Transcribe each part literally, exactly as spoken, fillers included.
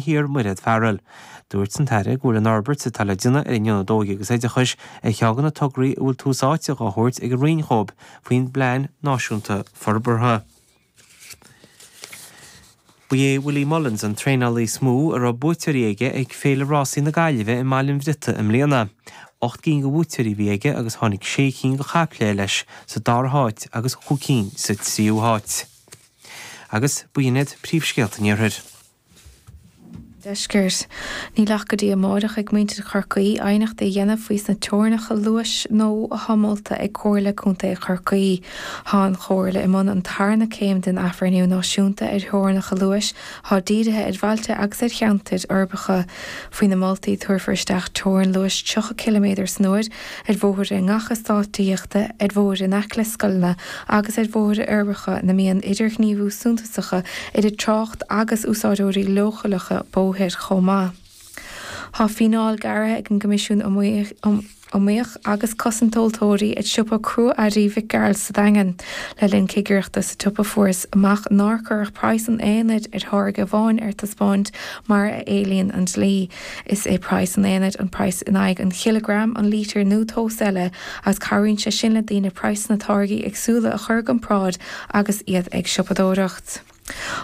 Thiar Mairéad Farrell. Dúirt an tAire go bhfuil an fhorbairt atá le déanamh ar an Ionad Óige agus Oideachais ar cheann de na tograí a bhfuil tús áite á thabhairt ag an Roinn dóibh faoin bPlean Náisiúnta Forbartha. Ba é Willie Mullins an traenálaí is mó a raibh buaiteoirí aige ag Féile Rásaí na Gaillimhe i mBaile an Bhriotaigh i mbliana. Ocht gcinn de bhuaiteoirí a bhí aige agus tháinig sé cinn de chaiple leis sa dara háit agus cúig cinn sa tríú háit. Agus b'in iad príomhscéalta an iarthair. Deiscirt. Níl ach go dtí amárach ag muintir Chorcaí aighneacht a dhéanamh faoi sna teorainneacha luais nua atá molta ag Comhairle Contae Chorcaí. Tá an Chomhairle i mbun an tarna céim den athbhreithniú náisiúnta ar theorainneacha luais atá dírithe ar bhailte agus ar cheantair uirbeacha. Faoi na moltaí tabharfar isteach teorainn luais tríocha ciliméadar san uair ar bhóithre i ngach eastát tithíochta, ar bhóithre in aice le scoileanna agus ar bhóithre uirbeacha ina mbíonn idirghníomhú suntasacha idir trácht agus úsáideoirí leochaileacha bóthair chomh maith. Tá fíneáil gearrtha ag an gCoimisiún Iomaíoch agus Cosaint Tomhaltóirí ar siopa crua-earraí Mhic Gearailt sa Daingean. Le linn cigireachta sa tsiopa fuarthas amach nár cuireadh praghas an aonaid ar tháirge amháin ar taispeáint mar a éilíonn an dlí. Is é praghas an aonaid an praghas in aghaidh an chileagram, an lítir nó tomhas eile agus cabhraíonn sé sin le daoine praghsanna táirgí éagsúla a chur i gcomparáid agus iad ag siopadóireacht.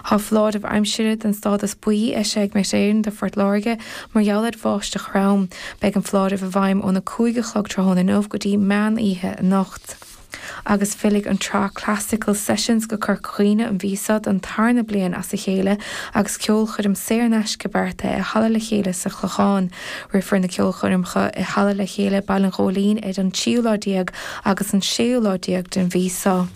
Tá foláireamh aimsire den stádas buí eisithe ag Met Éireann do Phort Láirge mar gheall ar bháisteach throm. Beidh an foláireamh i bhfeidhm óna cúig a chlog tráthnóna inniu go dtí meán oíche anocht. Agus fillfidh an tsraith Classical Sessions go Corca Dhuibhne an mhí seo don tarna bliain as a chéile agus ceolchoirm saor in aisce beartaithe i Halla le Chéile sa Chlochán. Rithfear na ceolchoirmeacha i Halla le Chéile Baile an Ghóilín ar an tríú lá déag agus an séú lá déag den mhí seo.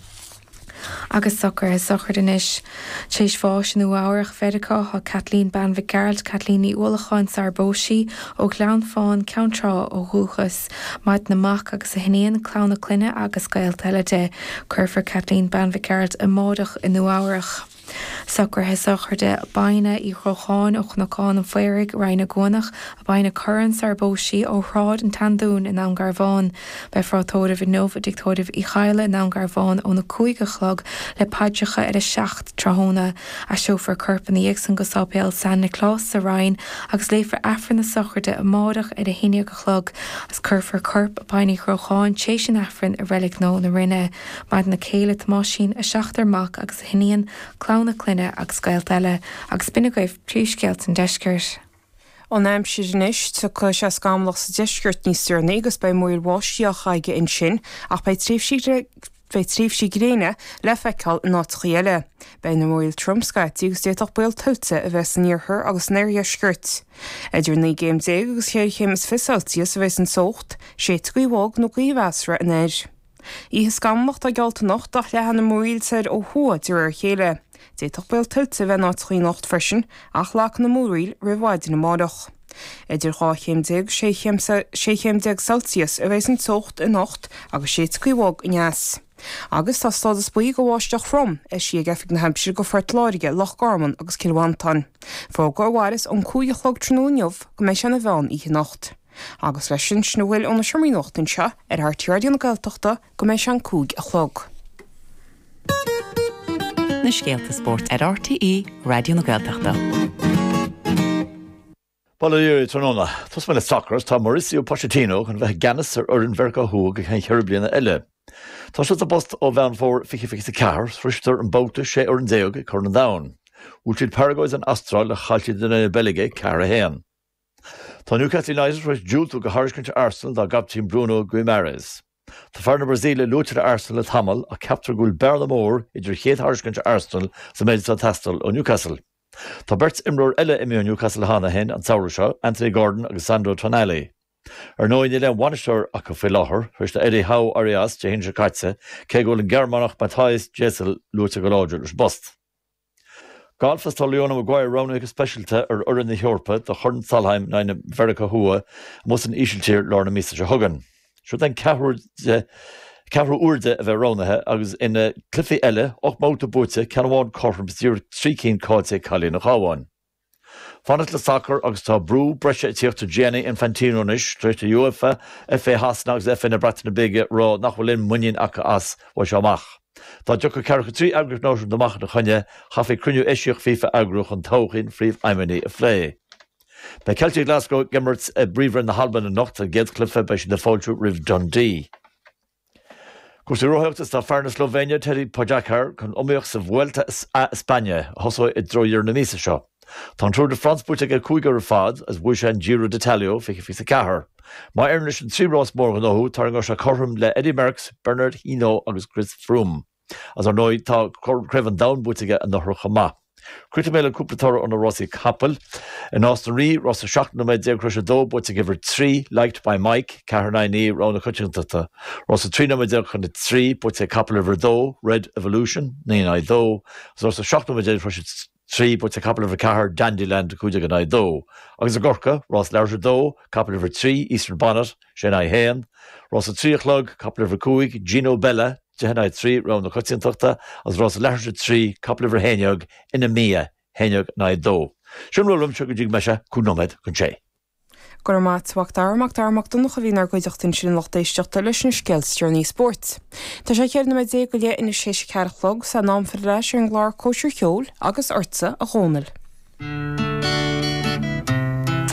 Agus socruithe sochraide anois. Tar éis bháis i Nua Eabhrach, Mheiriceá, tá Kathleen Bean Mhic Gearailt, Kathleen Ní Uallacháin sar bpós sí, ó Ghleann Fáin, Ceann Trá ó dhúchas. Maireann a mac agus a hiníon, clann a clainne agus gaolta eile di. Cuirfear Kathleen Bean Mhic Gearailt amárach i Nua Eabhrach. Socruithe sochraide Baina Uí Chrocháin ó Chnocán an Phaoraigh, Rinn na gCuanach, Baina Curran sar bpós sí ó Shráid an tSeandúin i nDún Garbhán. Beifear á tórramh inniu i dTigh Tórraimh Uí Chadhla i nDún Garbhán óna cúig a chlog le paidreacha ar a seacht tráthnóna. Aistreofar a corp ina dhiaidh san go Sáipéal San Nioclás sa Rinn agus léifear Aifreann na sochraide amárach ar a haon déag a chlog agus cuirfear corp Baina Uí Chrocháin tar éis an Aifrinn i Reilig Nua na Rinne. Maireann a céile Tomáisín, a seachtar mac agus a hiníon, clann a clainne agus gaolta eile, agus b'in agaibh príomhscéalta an deiscirt. An aimsir anois, tiocfaidh sé scamallach sa deisceart níos deireanaí agus beidh múraíl bháistí á caitheamh ansin ach beidh tréimhsí beidh tréimhsí gréine le feiceáil in áiteacha eile. Beidh na múraíl trom scaití agus d'fhéadfadh baol tuilte a bheith san iarthar agus san oirdheisceart. Idir naoi gcéim déag agus ceithre chéim is fiche Celsius a bheas an teocht, séidfidh gaoth bhog nó gaoth mheasartha anoir. Oíche scamallach atá geallta anocht ach leathfaidh na múraíl soir ó thuaidh de réir a chéile. D'fhéadfadh baol tuilte a bheith in áiteacha anocht freisin ach lagfaidh na múraíl roimh mhaidin amárach. Idir dhá chéim déag sé chéim sé chéim déag Celsius a bheas an teocht anocht agus séidfidh gaoth bhog aneas. Agus tá stádas buí do bháisteach throm eisithe ag Oifig na hAimsire do Phort Láirge, Loch Garman agus Cill Mhantáin. Fógra a mhairfeas ón cúig a chlog tráthnóna inniu go mbeidh sé ina mheán oíche anocht. Agus leis sin sin a bhfuil ó na seomraí nuachta anseo ar RTÉ Raidió na Gaeltachta go mbeidh sé an cúig a chlog. Na scéalta spóirt ar RTÉ Raidió na Gaeltachta. Bail ó Dhia oraibh tráthnóna. Tosóidh mé le sacar, tá Mauricio Pochettino chun bheith i gceannas ar fhoireann Mheiriceá Thuaidh go ceann ceithre bliana eile. Tá sé sa bpost ó Mheán Fómhair fiche fiche a ceathair, shroiseadar an babhta sé fhoireann déag ag Corn an Domhain. Bhuail siad Paraguay is an Astráil le chaill siad in aghaidh na Beilge ceathair a haon. Tá Newcastle United tar éis diúltú do thairiscint Arsenal dá gcaiptín Bruno Guimaraes. Tá fear na Brasaíle luaite le Arsenal le tamall ach ceaptar go bhfuil bearna mór idir chéad thairiscint Arsenal is an méid atá ag teastáil ó Newcastle. Tá beirt imreoir eile imithe ó Newcastle cheana féin an samhradh seo, Anthony Gordon agus Sandro Tonali. Ar ndóigh níl aon bhainisteoir acu faoi láthair, tar éis do Eddie Howe éirí as Dé hAoine seo caite, cé go bhfuil an Gearmánach Matthias Jaissle luaite go láidir leis an bpost. Galf is tá Leona Maguire roghnaithe go speisialta ar fhoireann na hEorpa do Chorn Solheim in aghaidh Mheiriceá Thuaidh amuigh san Ísiltír lár na míosa seo chugainn. Seo an ceathrú ceathrú uair di a bheith roghnaithe agus ina cluichí eile, ocht mbabhta buaite, ceann amháin cothrom is díreach trí cinn caillte ag cailín an Chabháin. Fanacht le sacar agus tá brú breise ag tíocht ar Gianni Infantino anois tar éis do UEFA, FA Shasana agus FA na Breataine Bige rá nach bhfuil aon mhuinín acu as uaidh seo amach. Dá dtiocfadh ceathracha trí eagraíocht náisiúnta amach ina choinne, chaithfí cruinniú eisiach FIFA a eagrú chun todhchaí an phríomhfheidhmeannaigh a phlé. Beidh Celtic Glasgow ag imirt i bPríomhroinn na hAlban anocht, an gcéad chluiche beidh siad ag fáiltiú roimh Dundee. Cúrsaí rothaíochta is tá fear na Slóivéine, Tadej Pogačar, chun iomaíocht sa Vuelta a España a thosóidh i dtreo dheireadh na míosa seo. Tá an Tour de France buaite aige cúig uair ar fad agus bhuaigh sé an Giro d'Italia fiche fiche a ceathair. Má éiríonn leis an trí rás mór a ghnóthú, tarraingeoidh sé cothrom le Eddy Merckx, Bernard Hinault agus Chris Froome. Agus ar ndóigh tá Craobh an Domhain buaite aige anuraidh chomh maith. Críochnóidh mé le cúpla toradh ó na rásaí capaill. I Nás na Rí, rás a seacht nóiméad déag tar éis a dó, buaite ag uimhir trí, Liked by Mike, ceathair in aghaidh a naoi, rogha na coitiantachta. Rás a trí nóiméad déag chun a trí, buaite ag capall uimhir a dó, Red Evolution, naoi in aghaidh a dó. Agus rás a seacht nóiméad déag tar éis a trí, buaite ag capall uimhir a ceathair, Dandyland, a cúig déag in aghaidh a dó. Agus i gCorcaigh, rás leathuair tar éis a dó, capall uimhir a trí, Eastern Bonnet, sé in aghaidh a haon. Rás a trí a chlog, capall uimhir a cúig, Gino Bella, deich in aghaidh a trí, rogha na coitiantachta, agus rás a leathuair tar éis a trí, capall uimhir a haon déag, Inamia, haon déag in aghaidh a dó. Sin a bhfuil uaimse go dtí go mbeidh sé cúig nóiméad chun sé. Go raibh maith agat, a Mhac Dara, Mac Dara Mac Donncha a bhí inár gcuideachta ansin a lucht éisteachta leis na scéalta is deireanaí spóirt. Tá sé ceithre nóiméad déag go leith anois théis a ceathair a chlog, 's in am filleadh ar ais ar an gclár Cóisir Cheoil agus ortsa a Dhónaill.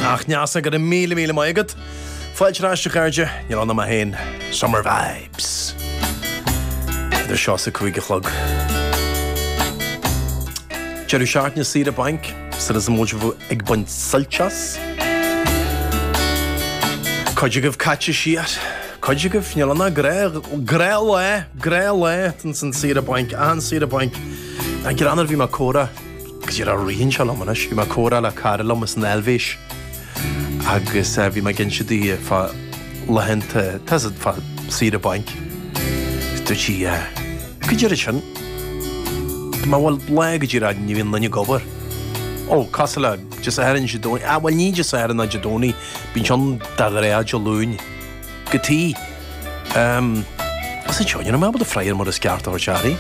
Ach Neasa, go raibh míle míle maith agat. Fáilte ar ais a chairde, níl ann mé féin. Summer Vibes. Idir seo is a cúig a chlog. Deireadh seachtaine saoire bainc, sula is muid ag baint suilt as. Cuid agaibh caite siar, cuid agaibh, níl ann ach gnáthlá, gnáthlá san saoire bainc, an saoire bainc. An greann bhí mé ag comhrá Go díreach ritheann sé liom anois, bhí mé ag comhrá le cara liom as an Eilvéis agus bhí mé ag inse di fá laethanta, tá a fhios agat, fá saoire bainc. Dúirt sí, Cad é sin? Dúirt mé, bhuel, lá go díreach ní bhíonn duine ag obair. Ó, cosúil le Dé Sathairn, Dé Domhnaigh, ah, bhuel ní Dé Sathairn ná Dé Domhnaigh, bíonn sé ann de ghnáth Dé Luain. Go tí. Ehm, as an seo, ní raibh mé ábalta freagra mar is ceart a thabhairt uirthi.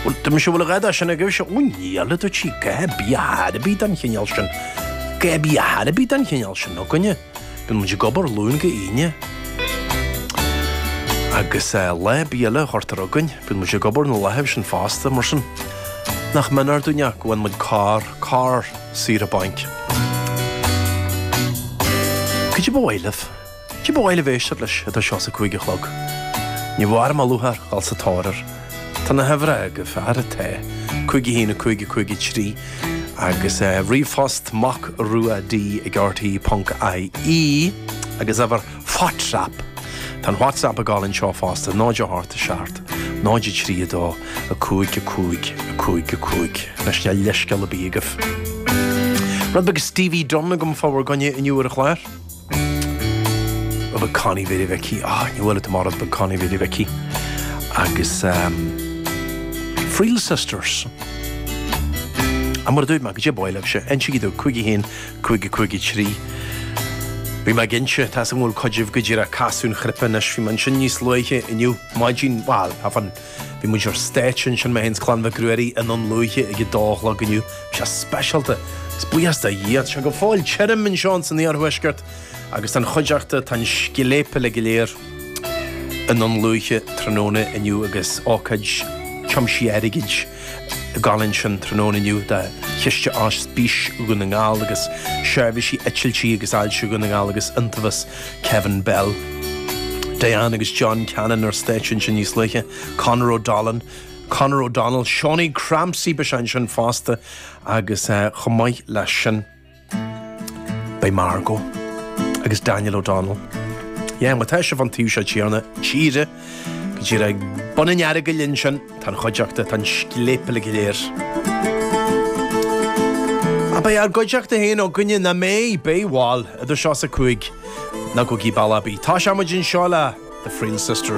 Bhuel, dúirt mise, bhfuil a dhath de sin agaibhse? Ó, níl, a dúirt sí, a dhath ar bith, a dhath ar bith den chineál sin. A dhath ar bith, a dhath ar bith den chineál sin againne. Bíonn muid ag obair Luan go hAoine. Agus eh, lá ar bith eile a chuirtear againn, bíonn muid ag obair na laethanta sin fosta, mar sin. Nach méanar dúinn é go bhfaigheann muid corr, corr saoire bainc. Cad é ba mhaith libh? Cad é ba mhaith libh éisteacht leis idir seo is a cúig a chlog? Ní bhfuair mé lúcháir dhul sa tóir air. Tá na huimhreacha agaibh, fear atá, cúig a haon a cúig a cúig a trí agus ríomhphost mac rua d ag rte ponc ie agus uimhir WhatsApp. Tá an WhatsApp ag gabháil anseo fosta, náid a hocht a seacht, náid a trí a dó, a cúig a cúig, a cúig a cúig. Anois níl leithscéal ar bith agaibh. Rud beag Stevie Dunne agam fá bhur gcoinne inniu ar an chlár. Rud beag Connie Mhéirí Mhicí. Ah, ní bhfuil tú mar rud beag Connie Mhéirí Mhicí. Agus um, Friel Sisters. A mar a dúirt mé, cad é ba mhaith libhse, insígí domh, cúig a haon, cúig a cúig a trí. Bhí mé ag inse, tá a fhios agam go bhfuil cuid agaibh go díreach ag casadh an chnaipe anois, bhí mé ansin níos luaithe inniu, maidin, bhuel, thafann, bhí muid ar stáitse ansin, mé féin 's Clann Mhic Ruairí i nDún Lúiche ag a dó a chlog inniu. Bhí sé speisialta, agus buíochas do Dhia, tá sé go fóill tirim anseo ins an iarthuaisceart, agus tá an chuideachta, tá an scléip uilig go léir i nDún Lúiche tráthnóna inniu agus ócáid tiomsaithe airgid ag gabháil ansin tráthnóna inniu do Chiste Ospís Dhún na nGall agus Seirbhísí Eitiltí agus Ailse Dhún na nGall agus Iontaobhas Kevin Bell. Diane agus John Cannon ar stáitse ansin níos luaithe, Conor O'Donnell, Conor O'Donnell, Seánie Crampsey beidh sé ansin fosta agus chomh maith leis sin, Beidh Margot agus Daniel O'Donnell. Yeah, má tá sibh an taobh seo tíre, tíre, go díreach ag bun an Earagail ansin, tá an chuideachta, tá an scléip uilig go léir. Ach beidh ár gcuideachta féin againne, nach mbeidh, beidh, bhuel, idir seo is a cúig, ná gabhaigí bealach ar bith. Tá sé muid anseo le The Friel Sisters.